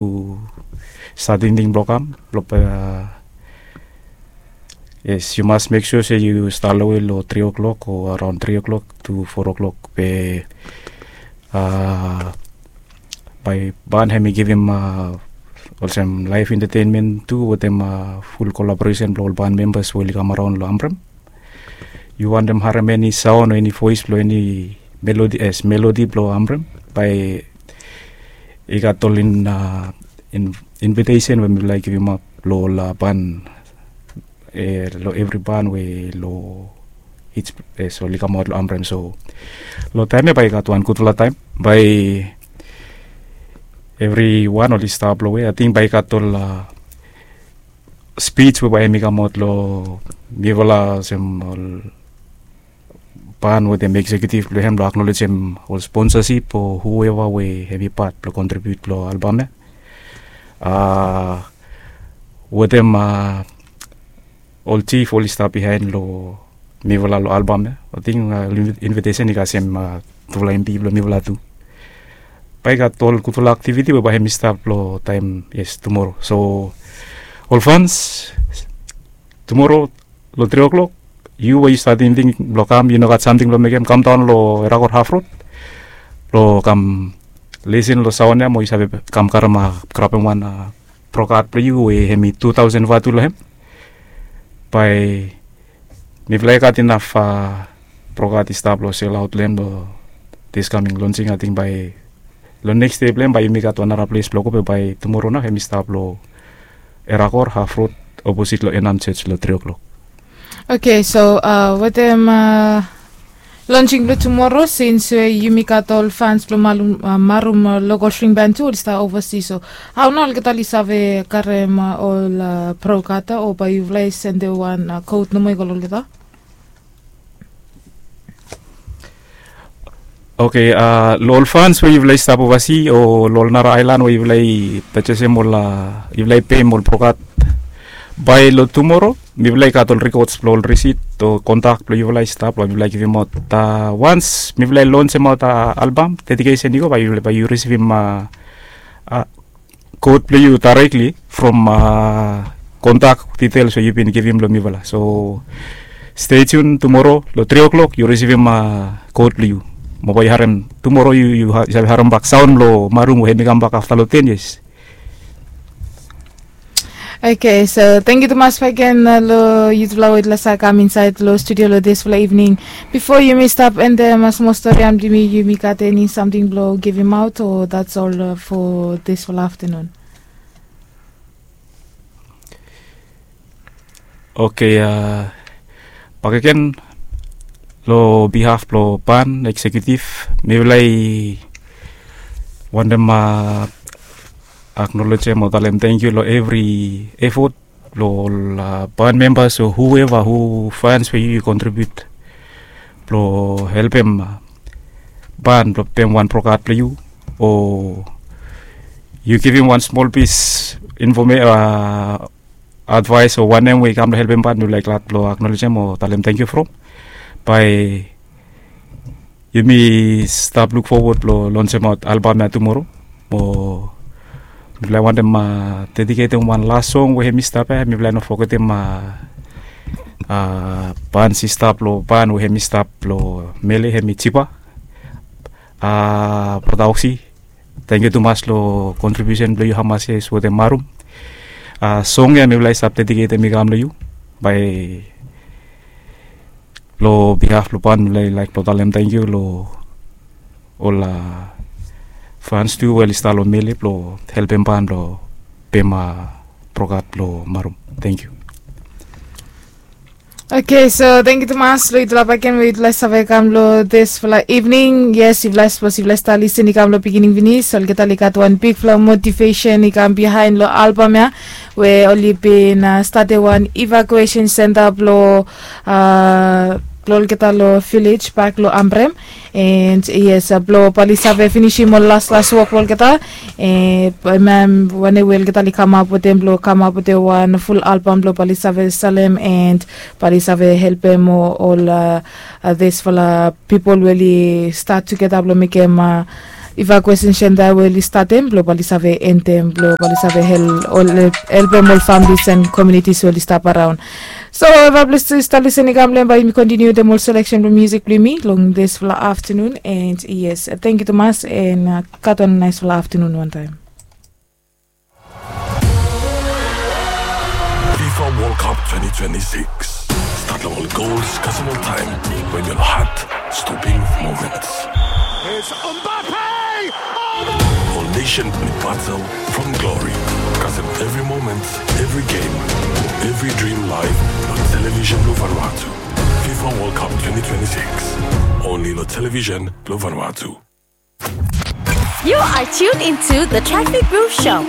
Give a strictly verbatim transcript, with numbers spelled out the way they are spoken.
Yu stap tingting blong kam blong, yes, yu mas mek sua se yu stap lowe long tri o'clock o araon tri o'clock to four o'clock be bae ban hem i givim olsem laef entertainment tu wetem ful kolaboresen blong ol ban membas we oli kam araon long Amrem. Yu wantem harem eni saon o eni voes blong eni melodi, es melodi blong Amrem, bae i gat ol invitesen we mifala i givim ap long ol ban, long evri ban we long its, es oli kamaot long Amrem. So long taem ya bae i gat wan gudfala taem, bae evriwan oli stap long we ating bae i gat ol spij we bae hem i kamaot long mifala olsem ol ban wetem eksekiutiv blong hem blong aknolejem ol sponsasip o hueva we hem i pat blong kontribiut long albam ya. Wetem ol jif oli stap bihaen long mifala long albam ya. Ating invitesen i kasem tufala emdi blong mifala tu. Bae i gat ol gudfala aktiviti we bae hem i stap long taem, yes, tumoro. So ol fans, tumoro long tri o'clock, yu we yu stap tingting blong kam, yu no gat samting blong mekem, kamdaon long Erakor Haf Rod blong kam lisin long saon ya mo yu save kam karem, grabem wan brokat blong yu we hem i tu taosen vatu long hem. Bae mifala i gat inaf brokat i stap long selaot long hem long dis kaming lonsing. Ating bae long neks dei blong hem bae yumi gat wan nara ples blong go be bae tumoro nao hem i stap long Erakor Haf Rod oposit long Enam Jos long tri o'clock. Oke, so wetem lonsing blong tumoro, sins we yumi gat ol fans blong Marum Lokol String Band tu oli stap ovasi, so hao nao olgeta oli save karem ol brokat ya o bae yufala i sendem wan kot nomo i go long olgeta? Oke, long ol fans we yufala i stap ovasi o long ol nara aelan we yufala i pejesem ol, yufala i peim ol brokat, bae long tumoro mifala i gat ol rikods blong ol risit o kontak blong yufala i stap blong mifala i givimaot. Wans mifala i lonsemaot albam dedikesen i go, bae yu risivim kot blong yu daerekli from kontak ditels we yu bin givim long mifala. So stei tiun, tumoro long tri o'clock yu risivim kot blong yu. Mo bae yu harem tumoro, yu save harem bak saon blong Marum we hem i kambak afta long ten yias. Oke, so tangkiu tumas bakegen long yutufala we yutufala save kam insaed long studio long disfala ivning. Bifo yumi stap endem smol stori ya, yumi gat eni samting blong givimaot o that's all for disfala aftenun? Oke, bakegen long bihaf blong ban eksekiutiv, mifala i wantem aknolejem o talem tangkiu long evri efot blong ol ban membas o hueva, hu fans we yu kontribiut blong helpem ban blong pem wan brokat blong yu o yu givim wan smol pis infome, advaes o wanem we i kam blong helpem ban, mifala i glad blong aknolejem o talem tangkiu from. Bae yumi stap luk fowod blong lonsemaot albam ya tumoro. Mo mifala i wantem dediketem wan las song we hem i stap ya, mifala i no fogetem ban sista blong ban we hem i stap long Mele, hem i Jipa. Brata Oksi, tangkiu tumas long kontribiusen blong yu, Hamas Yes wetem Marum. Song ya mifala i stap dediketem i kam long yu. Bae long bihaf blong ban mifala i laek blong talem tangkiu long ol fans tu we oli stap long Mele blong helpem ban blong pem brokat blong Marum. Tangkiu. Oke, so tangkiu tumas long yutufala bakegen we yutufala i save kam long disfala ivning. Yes, yufala, sapos yufala i stap lisin i kam long pikinini finis, olgeta oli gat wan bigfala motivesen i kam bihaen long albam ya, we oli bin statem wan evakuesen senta blong blong olgeta long vilej bak long Amrem. And yes, blong bae oli save finisim ol laslas wok blong olgeta. Wanem we olgeta oli kamap wetem blong kamap wetem wan ful albam blong bae oli save salem and bae oli save helpem ol disfala pipol we oli stat tugeta blong mekem Iva kwesin senda we oli statem blo bali save entem blo bali save helpem ol familis and komunitis we oli stap araun. So eva plis tu stap lisin i kam lem bai yumi kontiniu dem ol seleksen blo musik blo yumi long disfala aftanun. And yes, tengkiu tumas and gat wan naisfala aftanun wantaim. Fifa World Cup twenty twenty-six. Stat long ol gols kasem ol taim we mi ol hat stoping moments. It's Mbappe! Ol nation ni batel from glory kasem evri moment, evri game, evri dream live long television blo Vanuatu. Fifa World Cup twenty twenty-six. Only long television blo Vanuatu. You are tuned into the Traffic Groove Show.